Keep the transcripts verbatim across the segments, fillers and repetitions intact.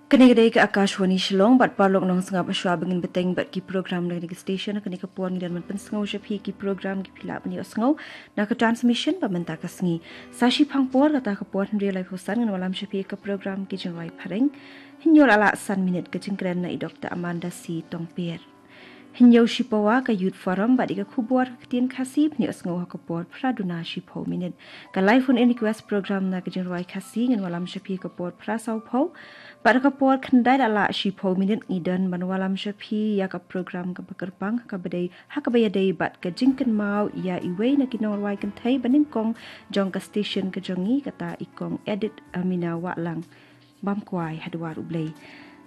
Kane ka dei ka Akashvani Shillong, bad paralok nongsngap, shuwa ba ngin bteng bad ki program na kane ka station, kane ka por ngi dang ban pynsngew sha phi ki program kiba phi lah ban ïohsngew na ka transmission ba mynta ka sngi. Sa shiphang por, kata ka por hynriew laiphew san, ngin wallam sha phi ka program Ki Jingrwai Phareng. Hynñiew la lah san minit, ka jingkren na i Doctor Amanda C Tongper. Hynñiew shipawa, ka Youth Forum bad ïa ka khubor ka ktien Khasi, phin ïohsngew ha ka por phra duna shiphew minit. Ka live phone in request program na ka jingrwai Khasi, ngin wallam sha phi ka por phra sawphew. Bad ka por khyndai la lah shiphew minit, ngi dang ban wallam sha phi ïa ka program kaba kyrpang, ha kaba dei, ha kaba ïadei bad ka jingkynmaw ïa iwei na ki nongrwai kynthei banyngkong jong ka station ka jong ngi, kata i Kong Edith Amina Wahlang, bam kwai ha dwar U Blei.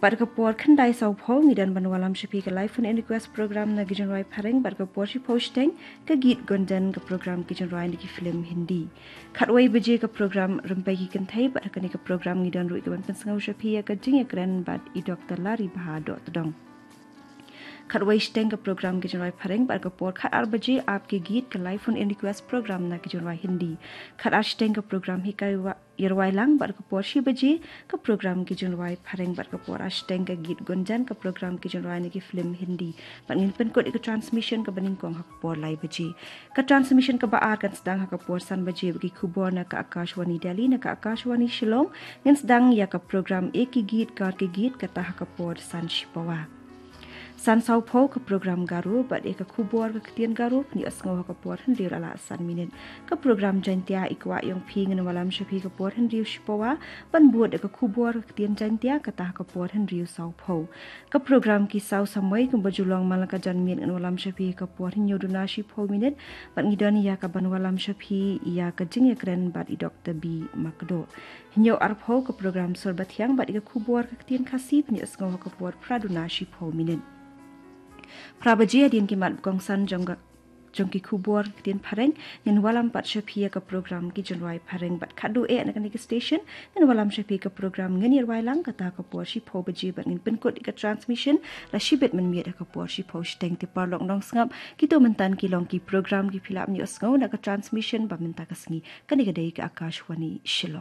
Bad ka por khyndai sawphew, ngi dang ban wallam sha phi ka live phone in request program na Ki Jingrwai Phareng, bad ka por shiphew shiteng, ka Geet Gunjan, ka program Ki Jingrwai na ki film Hindi. Khatwei baje, ka program Rympei ki Kynthei, bad ha kane ka program ngi dang ruh ïa ka ban pynsngew sha phi ïa ka jingïakren bad i Doctor Laribha Dohtdong. Khatwei shiteng, ka program Ki Jingrwai Phareng, bad ka por khatar baje, Aap Ke Geet, ka live phone in request program na ki jingrwai Hindi. Khatar shiteng, ka program Hikai Wa-, Ïarwai Lang, bad ka por shi baje, ka program Ki Jingrwai Phareng, bad ka por ar shiteng, ka Geet Gunjan, ka program Ki Jingrwai na ki film Hindi. Bad ngin pynkut ïa ka transmission kaba nyngkong ha ka por lai baje. Ka transmission kaba ar kan sdang ha ka por san baje bad ki khubor na ka Akashvani Delhi. Na ka Akashvani Shillong ngin sdang ïa ka program Ek Hi Geet Kar Ke Geet, kata ha ka por san shipawa. San sawphew, ka program Garo bad ïa ka khubor ka ktien Garo, phin ïohsngew ha ka por hynriew la lah san minit. Ka program Jaiñtia, I Kwah Ïong Phi, ngin wallam sha phi ka por hynriew shipawa, ban bud ïa ka khubor ka ktien Jaiñtia, kata ha ka por hynriew sawphew. Ka program Ki Saw Samoi, kumba ju long man la ka janmiet, ngin wallam sha phi ka por hynñiew duna shiphew minit, bad ngi don ïa ka ban wallam sha phi ïa ka jingïakren bad i Doctor B Makdoh. Hynñiew arphew, ka program Sur Bathiang bad ïa ka khubor ka ktien Khasi, phin ïohsngew ha ka por phra duna shiphew minit. Phra baje, hadien ki mat ba kongsan jong ka, jong ki khubor ka ktien Phareng, ngin wallam pat sha phi ïa ka program Ki Jingrwai Phareng, bad khatduh eh na kane ka station ngin wallam sha phi ka program Ngin Ïarwai Lang, kata ha ka por shiphew baje, bad ngin pynkut ïa ka transmission la shibit mynmiet ha ka por shiphew shiteng. Te paralok nongsngap, kito mynta ki long ki program kiba phi lah ban ïohsngew na ka transmission ba mynta ka sngi. Kane ka dei ka Akashvani Shillong.